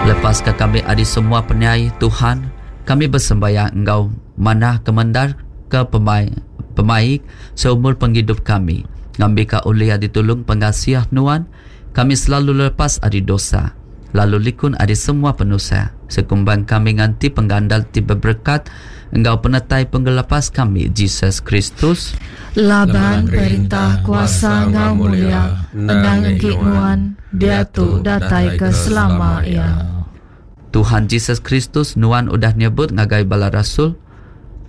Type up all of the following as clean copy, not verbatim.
Lepaska kami ari semua penyai, Tuhan, kami besembayang enggau manah kemendar ke pemai pemaik seumur pengidup kami, ngambika ulih ditulung pengasih Nuan, kami selalu lepas ari dosa, lalu likun ari semua penusah, sekumbang kami nganti penggandal ti beberekat enggau penetai Pengelepas kami, Jesus Kristus. Laban perintah, kuasa enggau mulia endang enggi Nuan, diatu datai ke selama iya. Tuhan Jesus Kristus, Nuan udah nyebut ngagai bala rasul,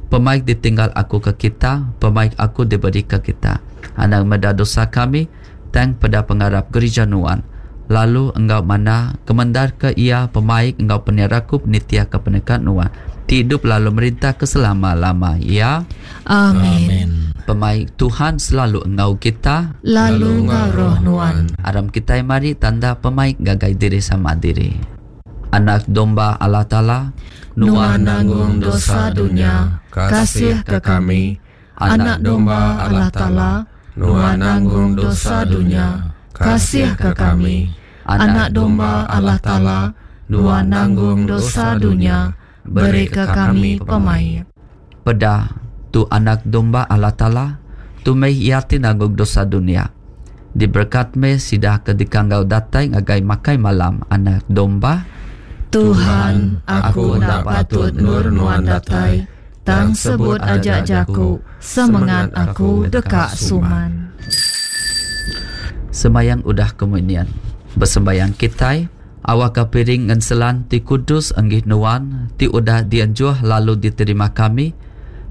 Pemaik ditinggal Aku ke kita, pemaik Aku diberika kita. Anang meda dosa kami, tang peda pengarap gerija Nuan, lalu enggau manah kemendarka iya pemaik enggau penyerakup nitihka peneka Nuan, ti idup lalu merintah ke selama-lama iya. Amin. Pemaik Tuhan selalu enggau kita. Lalu enggau roh nuan. Aram kitai mari tanda pemaik ngagai diri sama diri. Anak Domba Allah Taala, Nuan nanggung dosa dunya, kasihka kami. Anak Domba Allah Taala, Nuan nanggung dosa dunya, kasihka kami. Anak Domba Allah Taala, Nuan nanggung dosa dunya, berika kami pemaik. Peda, tu Anak Domba Allah Taala, tu meh Iya ti nanggung dosa dunya. Diberekat meh sida ke dikanggau datai ngagai makai malam Anak Domba. Tuhan, aku enda patut endur Nuan datai, tang sebut aja jaku, semengat aku deka suman. Sembayang udah komunion. Besembayang kitai. Awakka piring ngenselan ti kudus enggi Nuan ti udah dienjuh lalu diterima kami,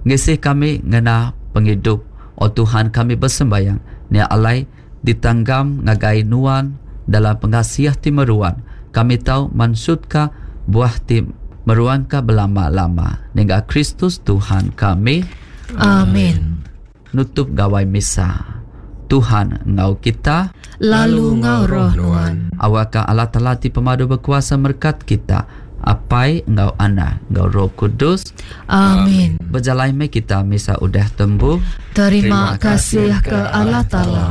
ngisi kami ngena pengidup, O Tuhan kami besembayang, nya alai ditanggam ngagai Nuan dalam pengasih ti meruan, kami tau mansutka buah ti meruanka belama-lama. Nengah Kristus Tuhan kami. Amin. Nutup gawai misa. Tuhan enggau kita. Lalu enggau roh nuan. Awakka Allah Taala ti pemadu bekuasa merekat kita, Apai enggau Anak enggau Roh Kudus. Amin. Bejalai meh kita misa udah tembu. Terima kasih ke Allah Taala.